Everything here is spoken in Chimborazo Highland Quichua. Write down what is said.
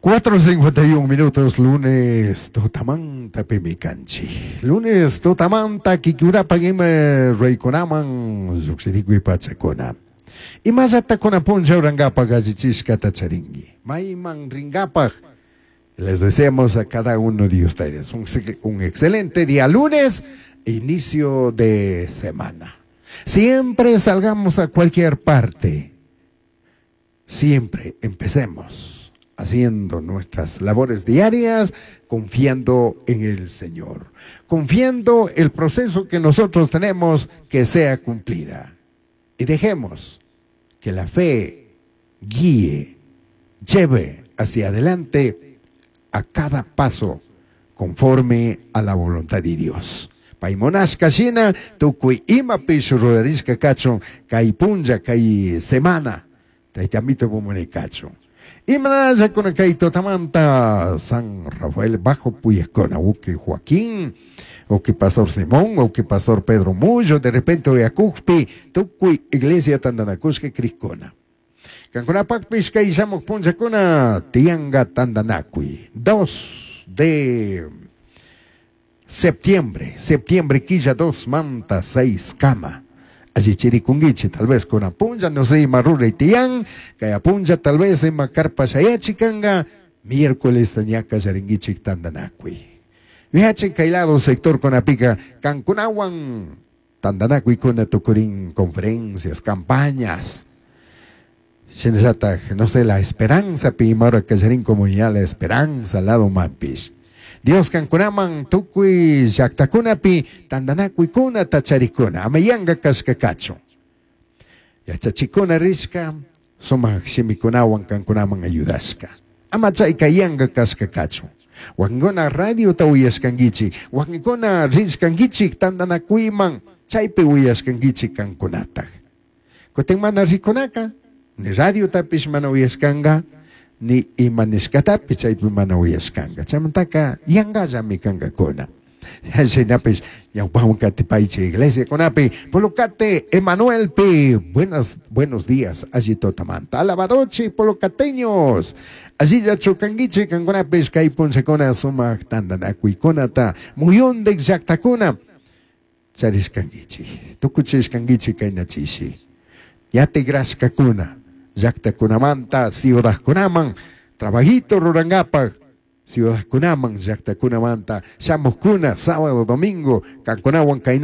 4:51 minutos, lunes tutamanta pimi kanchi. Lunes tutamanta kikurapaq ima ruraykunaman lluqshirikuy pachakuna. Imallata kunan puncha rurankapaq allichishkata charinki. Mayman rinkapaq. Les deseamos a cada uno de ustedes un excelente día lunes, inicio de semana. Siempre salgamos a cualquier parte. Siempre empecemos haciendo nuestras labores diarias, confiando en el Señor, confiando el proceso que nosotros tenemos que sea cumplida. Y dejemos que la fe guíe, lleve hacia adelante a cada paso conforme a la voluntad de Dios. Pai munashka shina, tukuy imapish rurarishka kachun, kay punlla, kay semana, Tayta Amito kachun. Imanalla kay tutamanta San Rafael Bajo Puyacona, uki Joaquín, uki Pastor Simón, uki Pastor Pedro Mullo, de repente uyakukpi, tukuy iglesia tandanakushka crikuna. Kankunapakpish kay shamuq punllakuna tiyanka tandanakuy. 2 de septiembre, septiembre quilla 2 manta 6 kama. Allichirikunkichi, tal vez con apunlla, no sé, ima ruray tiyan, kay apunlla tal vez ima carpa shayachikanka, miércoles ña kallarinkichik tandanakuy. Viachen kay lado sector kunapika, kankunawan tandanakuykuna tukurin conferencias, campañas. Shinallataj, no sé, la esperanza, pi imahora kallarin comunidad, la esperanza, lado mapish. Dios kankunaman tukuy llaqtakunapi tandanakuykuna charikuna, ama yanka kashka kachun. Yachachikuna rishka, sumaq shimikunawan kankunaman ayudashka. Ama chayka yanka kashka kachun. Wakinkuna radiota uyashkankichik, wakinkuna rishkankichik tandanakuyman, chaypi uyashkankichik kankunataj. Kutin mana rikunaka, ni radiotapish mana uyashkanka, ni ima nishkatapish chaypi mana uyashkanka. Chaymantaka yankallami kankakuna. Shinapish ñawpawan katipaychik iglesiakunapi, Pulukate Emanuelpi, buenos días, alli tutamanta. Alabadochi, pulucateños, allilla kankichik kankunapish kay punllakuna sumaq tandanakuykunata muyundik llaqtakuna charishkankichik, tukuchishkankichik kayna chishi. Ya tigrashkakuna, llaqtakunamanta ciudadkunaman, trabajito rurankapak, ciudadkunaman, llaqtakunamanta, shamuqkuna, sábado, domingo, kankunawan kayna